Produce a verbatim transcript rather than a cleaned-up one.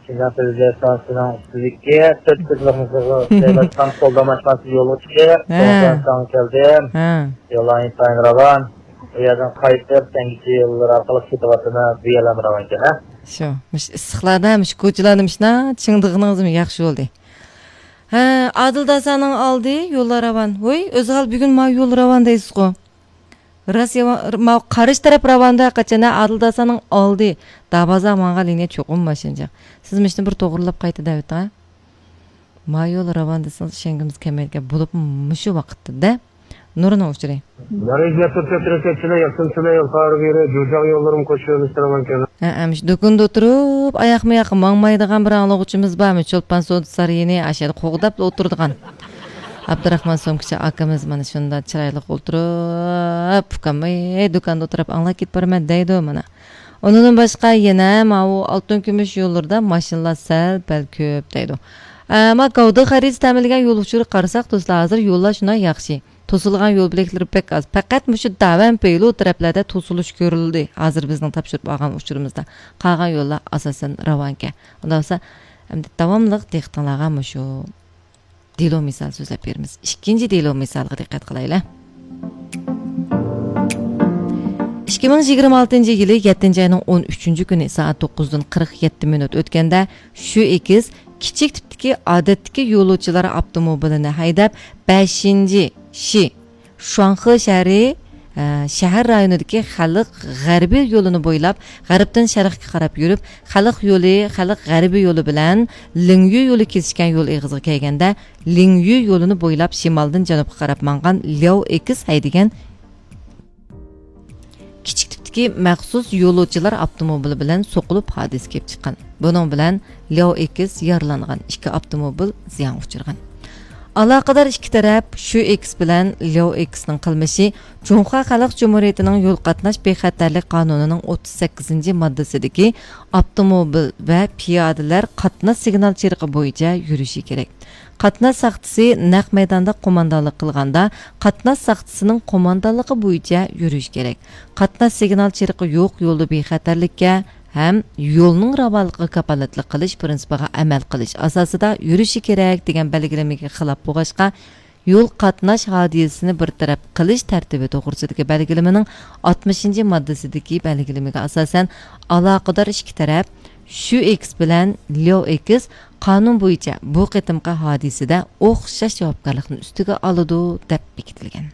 شىنجاڭ تېلېۋىزىيە ئىستانسىسىنىڭ ئۈستىدىكى تۆت قىزلىقنى جايلاشقان قولدان ئاشخانىسىغا يولغا چىقىپ، ھە. سوڭ ئىستانسىغا كەلدىم. ھە. يوللار ئىنتايىن راۋان. ئۇ يەردىن قايتىپ، تەڭگىچە يوللىرى ئارقىلىق كېتىۋاتىمەن. بۇ يەرلەرمۇ راۋانكەن، ھە؟ شۇ، مۇشۇ ئىسسىقلاردا مۇشۇ كوچىلارنى مۇشۇنداق چىڭدىغىنىڭىزمۇ ياخشى بولدى. ھە، ئادىل داسانىڭ ئالدى يوللار راۋان. ۋوي، ئۆزى ھال بۈگۈن ما يول راۋان دەيسىزغۇ؟ راست يامان، ماۋۇ قارشى تەرەپ راۋاندا قاچان، ھە، ئادىل داسانىڭ ئالدى. دابازا ماڭغان لىنىيە چوقۇم ماشىنىجىق. سىز مۇشۇنى بىر توغرىلاپ قايتا دەۋېتىڭ، ھە؟ ما يول راۋان دېسىڭىز، ئىشەنگۈمىز كەلمەيدىكەن. بولۇپمۇ مۇشۇ ۋاقىتتا-دە. نۇرنىڭ ئۇچۇرى. نارەيزىيە تۈركىيە تەرەپكە كېلە، ياقسىن كېلە، يول خارىغا يۈرە، جۇجاغ يوللىرىمۇ قوشۇلۇش راۋانكەن. ھە، ئەمىش دۇكىنىدا ئولتۇرۇپ، ئاياقمۇ ياققا ماڭمايدىغان بىر ئاڭلىغۇچىمىز بارمۇ؟ چولپان سودا سارىيىنى ئاشەدە قوغداپلا ئولتۇرىدىغان. ئابدۇراخمان سومكىچى ئاكىمىز مانا شۇنداق چىرايلىق ئولتۇرۇپ، ئۇكام، ئەي، دۇكاندا ئولتۇرۇپ ئاڭلاپ كېتىپ بارىمەن دەيدۇ مانا. ئۇنىڭدىن باشقا يەنە ماۋۇ ئالتۇن كۈمۈش يوللىرىدا ماشىنىلار سەل پەل كۆپ دەيدۇ. ئەمما گاۋدىغا خەرىتە تەمىنلىگەن يول ئۇچۇرى قارىساق، دوستلار، ھازىر يوللار شۇنداق ياخشى. توسۇلغان يول بۆلەكلىرى بەك ئاز. پەقەت مۇشۇ داۋەن پېيلۇ تەرەپلەردە توسۇلۇش كۆرۈلدى. ھازىر بىزنىڭ تاپشۇرۇپ ئالغان ئۇچۇرىمىزدا. قالغان يوللار ئاساسەن راۋانكەن. ئۇنداق بولسا، ئەمدى داۋاملىق دىققىتىڭلارغا مۇشۇ دېلو مىسال سۆزلەپ بېرىمىز. ئىككىنچى دېلو مىسالغا دىققەت قىلايلى. ئىككى مىڭ يىگىرمە ئالتىنچى يىلى يەتتىنچى ئاينىڭ ئون ئۈچىنچى كۈنى سائەت توققۇزدىن قىرىق يەتتە مىنۇت ئۆتكەندە، شۈ ئېكس كىچىك تىپتىكى ئادەتتىكى يولۇچىلار ئاپتوموبىلىنى ھەيدەپ، بەشىنچى شى شۇاڭخې شەھىرى، ئە، شەھەر رايونىدىكى خەلق غەربىي يولىنى بويلاپ، غەربتىن شەرققە قاراپ يۈرۈپ، خەلق يولى، خەلق غەربىي يولى بىلەن لىڭيۈ يولى كېسىشكەن يول ئېغىزىغا كەلگەندە، لىڭيۈ يولىنى بويلاپ شىمالدىن جەنۇبقا قاراپ ماڭغان لياۋ ئېكس ھەيدىگەن كىچىك تىپتىكى مەخسۇس يولۇچىلار ئاپتوموبىلى بىلەن سوقۇلۇپ ھادىسە كېلىپ چىققان. بۇنىڭ بىلەن لياۋ ئېكس يارىلانغان، ئىككى ئاپتوموبىل زىيانغا ئۇچرىغان. ئالاقىدار ئىككى تەرەپ شۈ ئېكس بىلەن لياۋ ئېكسنىڭ قىلمىشى جۇڭخۇا خەلق جۇمھۇرىيىتىنىڭ يول قاتناش بىخەتەرلىك قانۇنىنىڭ ئوتتۇز سەككىزىنچى ماددىسىدىكى ئاپتوموبىل ۋە پىيادىلەر قاتناش سىگنال چىرىقى بويىچە يۈرۈشى كېرەك. قاتناش ساقچىسى نەق مەيداندا قوماندانلىق قىلغاندا، قاتناش ساقچىسىنىڭ قوماندانلىقى بويىچە يۈرۈش كېرەك. قاتناش سىگنال چىرىقى يوق يولدا بىخەتەرلىككە ھەم يولنىڭ راۋانلىقىغا كاپالەتلىك قىلىش پىرىنسىپىغا ئەمەل قىلىش ئاساسىدا يۈرۈشى كېرەك دېگەن بەلگىلىمىگە خىلاپ بولغاچقا، يول قاتناش ھادىسىسىنى بىر تەرەپ قىلىش تەرتىپى توغرىسىدىكى بەلگىلىمىنىڭ ئاتمىشىنچى ماددىسىدىكى بەلگىلىمىگە ئاساسەن، ئالاقىدار ئىككى تەرەپ شۈ ئېكس بىلەن لياۋ ئېكس قانۇن بويىچە بۇ قېتىمقى ھادىسىدە ئوخشاش جاۋابكارلىقنى ئۈستىگە ئالىدۇ، دەپ بېكىتىلگەن.